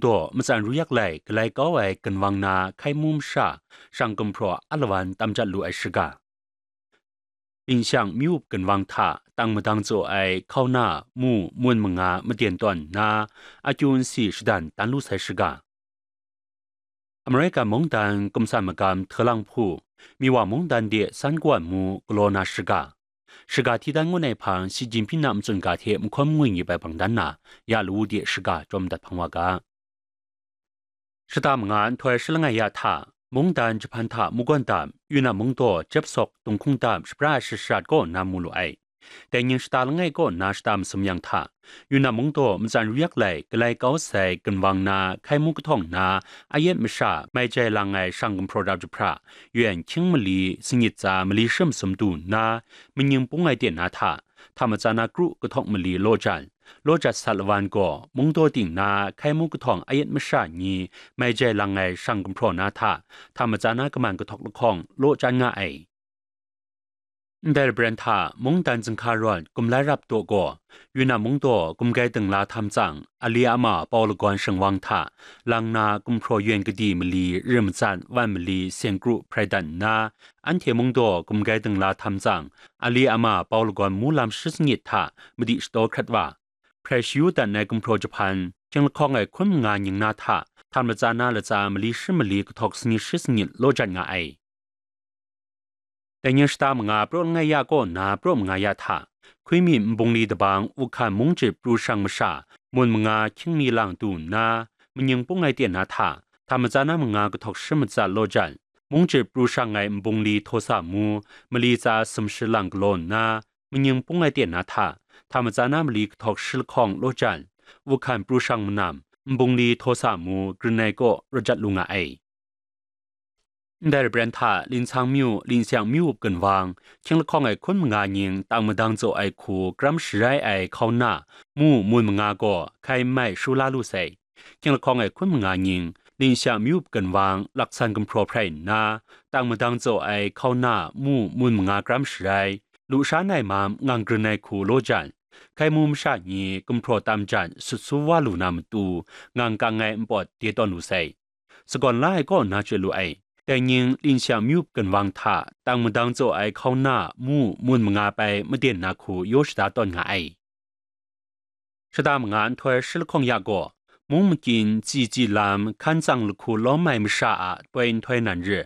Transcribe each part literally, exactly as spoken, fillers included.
daw matsan ru yak lai galai kau ai ginwang na hkai mu masha shang gumhpraw alawan tam jat lu ai shaga. Linshang myu up ginwang hta tang madang tsaw ai hkauna mu mun manga maden tawn nna, akyu nsi shadan dan lu sai shaga. Amerika mungdan kumsan magam htalang hpu, Miwa mungdan de san kawan mu galaw na shaga. Shaga hti dan ngun ai hpang Xi Jinping a matsun ga hte mahkawn ngwi ngip ai bang dan na, ya lawu de shaga jawm dat hpang wa ga. Shata manga nhtoi shi langai ya hta, mungdan jahpan hta munggawn dam, Yunnan mungdaw jep sawk dunghkung dam shapra ai shashat kaw na mu lu ai. Dai ning shata langai kaw na shata masum yang hta, Yunnan mungdaw matsan ru yak lai galai kau sai ginwang na hkai mu kahtawng na ayet masha mai jai lang ai shang gumhpraw rap jahpra, yuan hkying mali sangit tsa mali shi masum du nna, manying pung ai ten na hta, hta matsa na kru kahtawng mali law jan, law jat sat lawan gaw mungdaw ting na hkai mu kahtawng ayet masha ni mai jai lang ai shang gumhpraw na hta, hta matsa na kaman kahtawk lahkawng law jan nga ai. Ndai labren hta mungdan zinghka rawn gumlai rap daw gaw, Yunnan mungdaw gumgai dingla htam tsang, ali ama pau lagawn shingwang hta, lang na gumhpraw yuen kadi mali rim matsat wan mali seng kru hprai dat nna, anhte mungdaw gumgai dingla htam tsang, ali ama pau lagawn mu lam shi sangit hta madi shataw hkrat wa, hprai shayu dat ai gumhpraw jahpan, hkying lahkawng ai hkun manga ning na hta, hta matsa na latsa mali shi mali kahtawk sangit shi sangit law jan nga ai. Dai ning shata manga praw langai ya kaw na praw manga ya hta, hkwi mi nbungli dabang uhkan mung jit pru shang masha, mun manga hkying mi lang du nna, manying pung ai ten na hta, hta matsa na manga kahtawk shi matsat law jan, mung jit pru shang ai nbungli htaw sa mu, mali tsa sumshi lang galaw nna, manying pung ai ten na hta, hta matsa na mali kahtawk shi lahkawng law jan, uhkan pru shang manam, nbungli htaw sa mu, grin ai kaw rawt jat lu nga ai. Ndai labren hta Linshang myu, Linshang myu up ginwang, hkying lahkawng ai hkun manga ning tang madang tsaw ai hku kram sharai ai hkauna, mu mun manga gaw hkai n mai shula lu sai. Hkying lahkawng ai hkun manga ning, Linshang myu up ginwang laksan gumhpraw hprai nna, tang madang tsaw ai hkauna, mu mun manga kram sharai, lusha nai mam ngang grin ai hku law jan, hkai mu masha ni gumhpraw tam jan sut su wa lu na matu, ngang kang ai npawt de tawn lu sai. Sagawn la ai kaw na chye lu ai. Dai ning Linshang myu ginwang hta tang madang tsaw ai hkauna mu mun manga pai maden na hku yaw shada tawn nga ai. Shata manga nhtoi shi lahkawng ya gaw, mung makyin tsi tsi lam hkan tsang lahku lawm ai masha a poi nhtoi nan ri,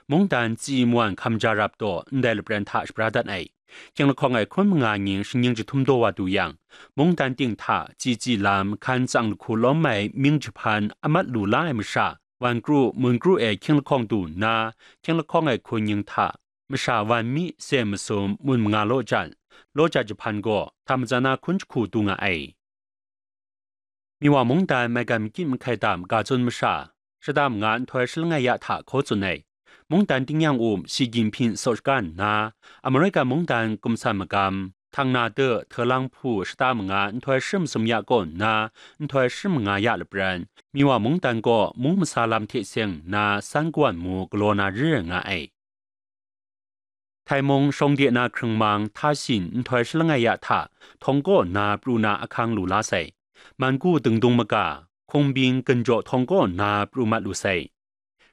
mungdan tsi mawan hkam ja rap taw ndai lapran hta shapra dat ai. Hkying lahkawng ai hkun manga ning shingning jahtum daw wa du yang, mungdan ting hta tsi tsi lam hkan tsang lahku lawm ai ming jahpan a mat lu la ai masha, wan kru, mun kru e hkying lahkawng du nna, hkying lahkawng ai hkun ning hta masha wan mi sem masum mun manga law jan, law jat jahpan gaw hta matsan na hkun jahku du nga ai. Miwa mungdan maigan makyit mahkai dam ga tsun masha, shata manga nhtoi shi langai ya hta hkaw tsun ai. Mungdan tingnyang um Xi Jinping saw shaga nna, Amerika mungdan kumsan magam, htang na de, hte lang hpu shata manga nhtoi shi masum ya kaw nna, nhtoi shi manga ya lapran, Miwa mungdan gaw mung masa lam hte seng nna san kawan mu galaw na ri nga ai. Htai mung shawng de na hkrung mang hta shin nhtoi shi langai ya hta, htawng kaw nna pru na ahkang lu la sai. Mangu dingdung maga, hkung bing ginjaw htawng kaw nna pru mat lu sai.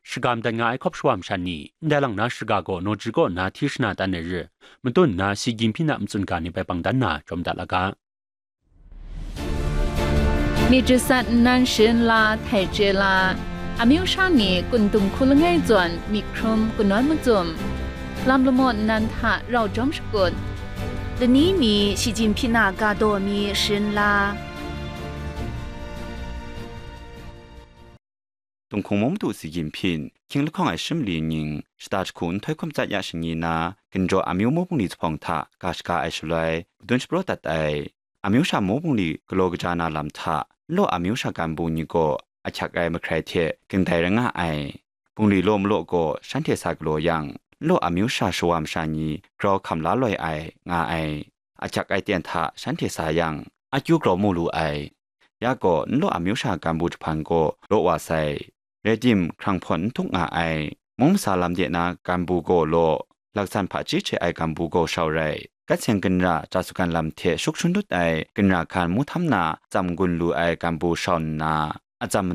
Shagam dat nga ai hkawp shawa masha ni, ndai lang na shaga gaw naw ji kaw nna hti shana dan ai ri, matun nna Xi Jinping a matsun ga ni bai bang dan na jawm dat la ga. Myit jasat nnan sharin la htai chye la, amyu sha ni kun dung hku langai zawn myit hkrum kanawn macum, lam lamaw nnan hta rau jawm shakut, lani mi Shi Jinpyin a ga daw mi sharin la. Tunghkung mung madu Xi Jinpyin, hkying lahkawng ai shi mali ning, shata jahku nhtoi hkum tsat ya shani na, ginjaw amyu mu bungli zuphpawng hta ga shaga ai shaloi, madun shapraw dat ai. Amyu sha mu bungli galaw kaja na lam hta, nlaw amyu sha ganbu ni gaw ahkyak ai mahkrai hte ging dai rai nga ai. Bungli law malaw gaw shanhte sa galaw yang, nlaw amyu sha shawa masha ni grau hkam la loi ai, nga ai. Ahkyak ai ten hta shanhte sa yang, akyu grau mu lu ai. Ya gaw, nlaw amyu sha ganbu jahpan gaw law wa sai. Rai tim, hkrang hpawn n htuk nga ai. Mung masa lam de na ganbu gaw law, laksan hpaji hte ai ganbu gaw shau rai. Gat seng ginra ja sugan lam hte shuk shun dut ai ginra hkan mu htam na tsam gun lu ai ganbu shau nna, atsam